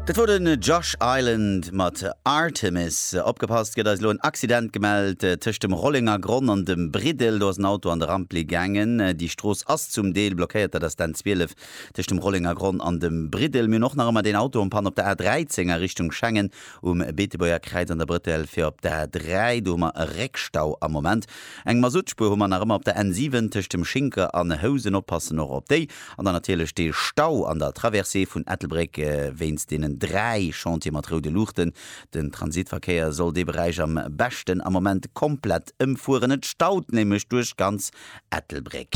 Dat wor den Josh Island mat Artemis. Opgepasst, gëtt eis elo en Accident gemellt tëscht dem Rollenger Gronn an dem Briddel. Do ass en Auto an de Rampli gaangen. Déi Strooss ass zum Deel blockéiert. Dat ass d'N 12 tëscht dem Rollenger Gronn an dem Briddel. Mir hunn och nach ëmmer deen Auto en panne op der A 13 a Richtung Schengen um Beetebuerger Kräiz an der Brëttel fir op d'A 3. Do hu mer e Réckstau am Moment. Eng Masuttspuer hu mer nach ëmmer op der N 7 tëscht dem Schinker an Housen. Oppassen och op déi. An dann natierlech dee Stau an der Traversée vun Ettelbréck wéinst deenen 3 Chantiere mat roude Luuchten. Den Transitverkéier soll dee Beräich am beschten am Moment komplett ëmfueren. Et staut nämlech duerch ganz Ettelbréck.